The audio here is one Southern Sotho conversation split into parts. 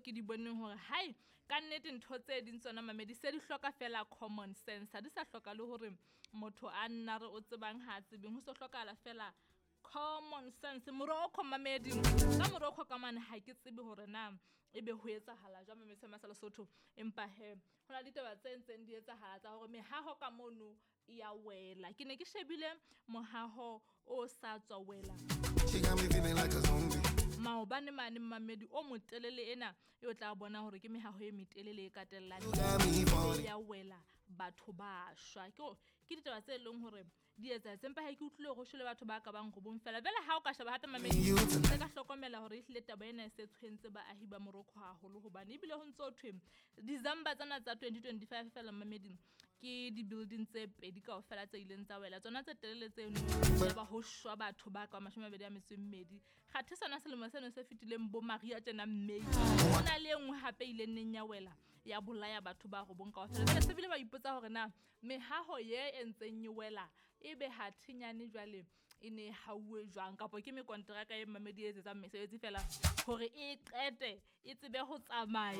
ke di boneng hore hai ka nnete ntho tse ding tsona mamedi se di hloka fela common sense, ha di sa hloka le hore motho a nna re o tsebang ha a tsebeng, ho so hlokahala fela common sense. Morocco mamedi, ka Morocco ka mane ha ke tsebe hore na ebe ho etsahala jwang mamedi sa Lesotho, empa he ho na le ditaba tse ntseng di etsahala tsa hore mehaho ka mono e ya wela. Ke ne ke shebile mohaho o sa tswa wela She got me feeling like a zombie. Maobane mane mamedi o motelele ena e o tla bona hore ke mehaho e metelele e katellang You got me falling. ya wela, batho ba shwa. Ke ditaba tse leng hore di etsahetse, empa ha ke utlwile hore ho shwele batho ba ka bang robong fela. Jwale ha o ka sheba hape mamedi, You tonight. se ka hlokomela hore ehlile taba ena e se tshwentse baahi ba Morocco haholo, hobane ebile ho ntso thwe December tsena tsa 2025 fela mamedi ke di-building tse pedi kaofela tse ileng tsa wela, tsona tse telele tseno, ya ba ho shwa batho ba ka 22. Kgathe sona selemo seno se fetileng bo Maria tjena May, ho na le e nngwe hape ileng neng ya wela ya bolaya batho ba robong kaofela. Jwale se bile ba ipotsa hore na mehaho ye e ntseng e wela ebe ha thinyane jwale e ne e hauwe jwang, kapa ke mekonteraka e mamedi e etsetsang mesebetsi fela hore e qete e tsebe ho tsamaya.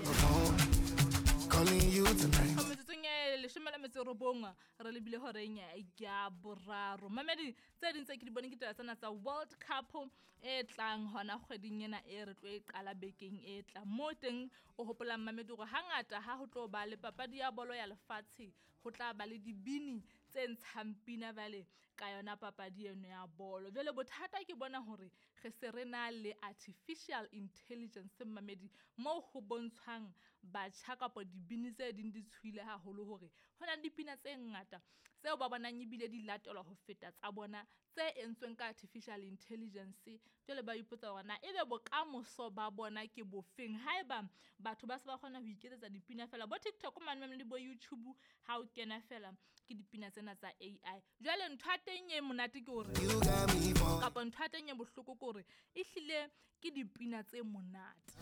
Calling you tonight. Metsotsong e 19 re lebile horeng ya boraro. Mamedi, tse ding tse ke di boneng ke taba tsena tsa World Cup e tlang hona kgweding ena e re tlo e qala bekeng e tlang. Mo teng o hopolang mamedi hore hangata ha ho tlo ba le papadi ya bolo ya lefatshe, ho tla ba le dibini tse ntshang pina jwale ka yona papadi eno ya bolo. Jwale bothata ke bona hore re se re na le artificial intelligence mamedi, moo ho bontshwang batjha kapa dibini tse ding di tshohile haholo hore ho na le dipina tse ngata tseo ba bonang ebile di latelwa ho feta tsa bona tse entsweng ka artificial intelligence. Jwale ba ipotsa hore na ebe bokamoso ba bona ke bofeng haeba batho ba se ba kgona ho iketsetsa dipina fela bo TikTok mane le bo YouTube, ha o kena fela ke dipina tsena tsa AI. Jwale ntho ya teng e monate ke hore You got me falling. kapa ntho ya teng e bohloko ke hore ehlile ke dipina tse monate.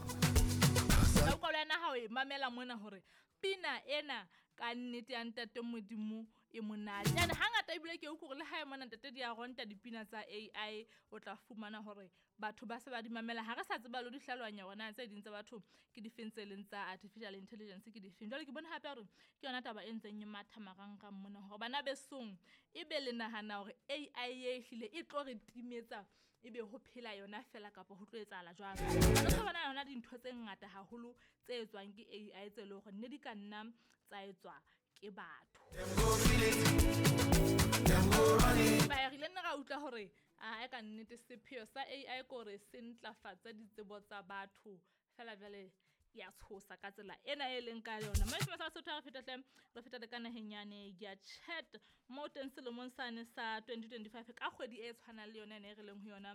Ka utlwa le wena ha o e mamela mona hore pina ena ka nnete ya ntate Modimo e monate. Ene hangata ebile ke utlwe hore le ha e mona ntate di a ronta dipina tsa AI, o tla fumana hore batho ba se ba di mamela. Ha re sa tseba le ho di hlalohanya hore na tse ding tsa batho ke difeng tse leng tsa artificial intelligence ke difeng. Jwale ke bone hape hore ke yona taba e ntseng e matha marangrang mona hore bana besong ebe le nahana hore AI e ehlile e tlo re timetsa, ebe ho phela yona fela kapa ho tlo etsahala jwang. Re tlo bona yona dintho tse ngata haholo tse etswang ke AI tse leng hore ne di ka nna tsa etswa ke batho. Them go feel it. Them go run it. Ba re ile nna ra utlwa hore a ka nnete sepheo sa AI ke hore se ntlafatse ditsebo tsa batho fela jwale ya tshosa ka tsela ena e leng ka yona. Mme sa Sotho re feta hle, re feta le ka naheng yane ya Chad, mo teng selemong sane sa 2025 ka kgwedi e tshwanang le yona ena e re leng ho yona,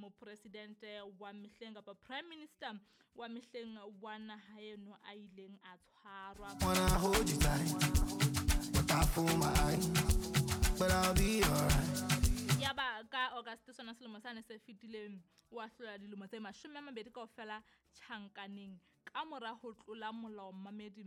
mopresidente wa mehleng kapa prime minister wa mehleng wa naha eno a ileng a tshwarwa. Wanna hold you tight, but I fool my eyes, but I'll be alright. Ya ba ka August sona selemo sane se fetileng, wa hlola dilemo tse 20 kaofela tjhankaneng ka mora ho tlola molao mamedi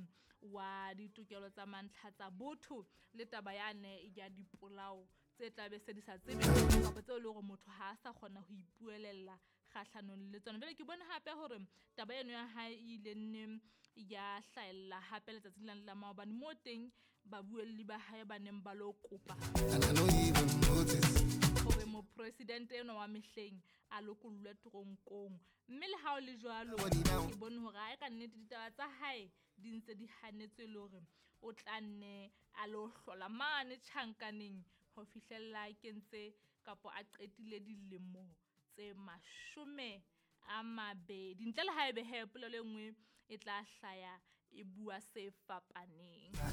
wa ditokelo tsa mantlha tsa botho le taba yane ya dipolao tse tla be se di sa tsebe kapa tseo e leng hore motho ha a sa kgona ho ipuelella kgahlanong le tsona. Jwale ke bone hape hore taba eno ya hae e ile nne ya hlahella hape letsatsing lane la maobane, moo teng babuelli ba hae ba neng ba lo kopa And I know you even notice. hore mopresidente enwa wa mehleng a lokollwe teronkong. Mme le ha o le jwalo, ke bone hore ha e ka nnete ditaba tsa hae di ntse di hanetswe le hore o tla nne a lo hlola mane tjhankaneng ho fihlella a kentse kapa a qetile dilemo tse 20. Ntle le haebe he polelo e nngwe e tla hlaya e bua se fapaneng.